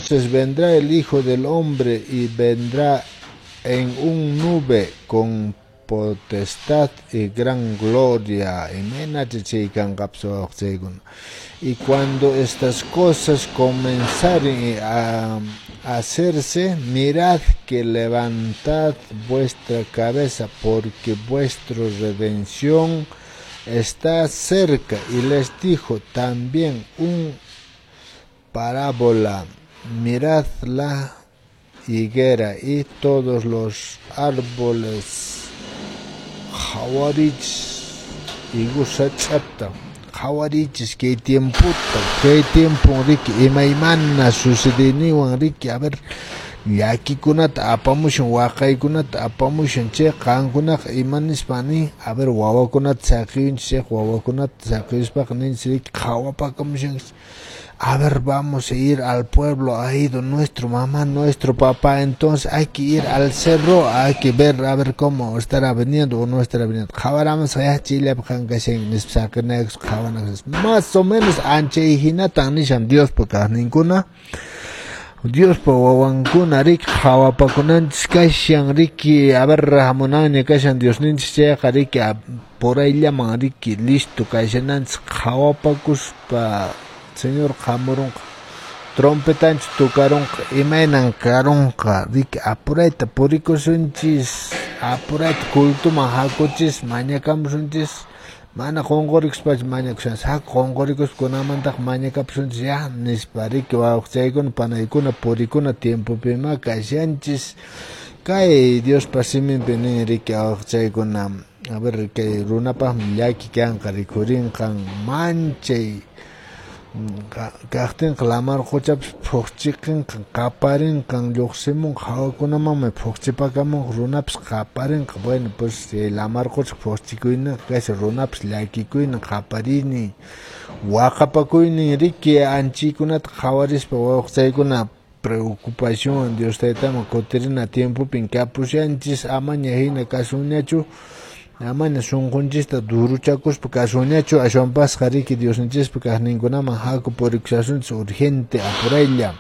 Entonces vendrá el Hijo del Hombre y vendrá en un nube con potestad y gran gloria. Y cuando estas cosas comenzaren a hacerse, mirad que levantad vuestra cabeza, porque vuestra redención está cerca. Y les dijo también un parábola: mirad la higuera y todos los árboles. Qhawarichis higo sach'ata, qhawarichis kay tiempota, kay tiempo riki imaymana sucedeniwan riki, a ver, llakikunata apamushan, waqaykunata apamushan, chay qankunaqa ima nispa nin, a ver, wawakunata saqiyunchis, chay wawakunata saqiyuspaqa ninchis riki qhawapakamushanchis. A ver, vamos a ir al pueblo, ha ido nuestro mamá, nuestro papá, entonces hay que ir al cerro, hay que ver, a ver cómo estará viniendo o no estará viniendo. Más o menos anchay hinatan nishan Diospa kaqninkuna, Diospa wawankuna riki qhawapakunanchis kashan riki, a ver, hamunanña kashan Diosninchis chayqa riki, por ayllaman riki listo kashananchis qhawapakuspa. Señor hamurunqa, trompetanchis tocarunqa, imaynan karunqa, riki apurayta purikusunchis, apurayta cultuman hakuchis, mañakamusunchis, mana qunqurikuspachu mañakushanchis, haku qunqurikuspa kunamantaq mañakapusunchis ya nispa riki wawqichaykuna panaykuna purikuna tiempopima kashanchis. Kay Diospa siminpi nin riki wawqichaykuna, a ver, kay runapaqmi llaki kanqa rikhurinqan manchay kaqtinqa lamar quchapas phuqchiqinqa qaparinqan lluqsimunqa hawakunamanmi phuqchipakamunqa runapas qaparinqa. Bueno, pues lamar qucha phuqchikuyninqa kashan runapas llakikuynin qapariynin waqapakuynin riki anchiykunata qhawarispa wawqichaykuna preocupación Dios taytaman kutirina tiempopin kapushanchis, amaña hina kasunñachu, amaña sunqunchista duruchakuspa kasunñachu, ashwanpasqa riki Diosninchispa kaqninkunaman haku purikushasunchis urgente apuraylla.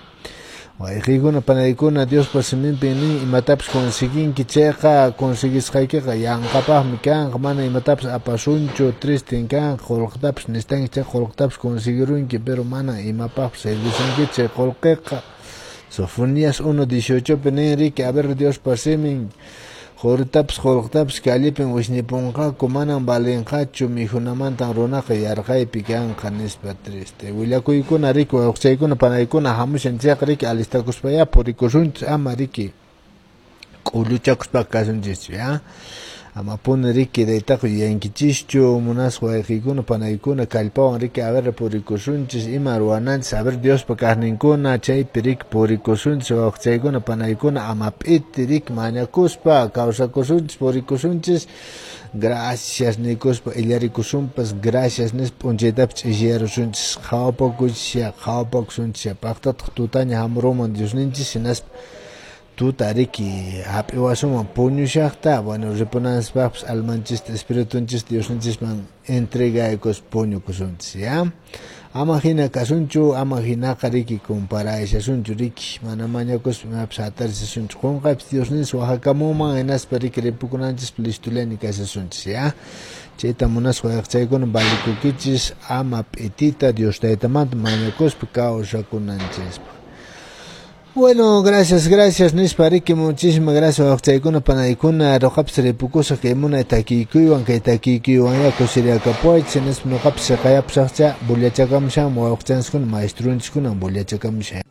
Wayqiykuna panaykuna Diospa siminpi nin imatapas conseguinki chayqa conseguisqaykiqa yanqapaqmi kanqa, mana imatapas apasunchu, tristen kanqa, qullqitapas necesitanki chayqa qullqitapas conseguirunki, pero mana imapaqpas servisunkichu chay qullqiqa. Sofonías 1:18 pi nin riki, a ver, Diospa simin quritapas qullqitapas callipin wisñipunqaku, manan valinqachu, mikhunamantan runaqa yarqaypi kanqa nispa triste. Willakuykuna riki wawqichaykuna panaykuna hamushan chayqa riki alistakuspayá purikusunchis, ama riki k'ulluchakuspaqa kasunchischu ya. Amapuni riki daytaqa yuyankichischu, munasqa wayqiykuna panaykuna kallpawan riki a ver purikusunchis, ima ruwananchis, a ver Diospa kaqninkuna chaypi riki purikusunchis, wawqichaykuna panaykuna ama p'iti riki mañakuspa kawsakusunchis purikusunchis. Gracias nikuspa illarikusunpas, gracias nispa p'unchaytapas ch'isiyarusunchis, qhawapakuchisya, qhawapakusunchis, paqtataq tutaña hamuruman Diosninchis hinaspa tuta riki hap'iwasunman puñushaqta, bueno, ripunanchispaqpas almanchista espiritunchista Diosninchisman entregaykus puñukusunchis ya. Ama hina kasunchu, ama hinaqa riki comparaysasunchu riki, mana mañakuspa imapas hatarisasunchu, qunqaypas Diosninchis waqakamunman hinaspa riki ripukunanchispa listullani kashasunchis ya. Chayta munasqa wayqichaykuna valikukichis ama p'itita Dios taytamanta mañakuspa kawsakunanchispaq. Bueno, gracias, gracias, nispa riki, muchísimas gracias, wawqichaykuna panaykuna, ruqapas ripukusaq kay munay takiykuywan, kay takiykuywan ya kusiriakapuwaychis, nispa nuqapas siqayapusaqcha bullachakamushan wawqichanchiskuna, maestrunchiskuna bullachakamushan.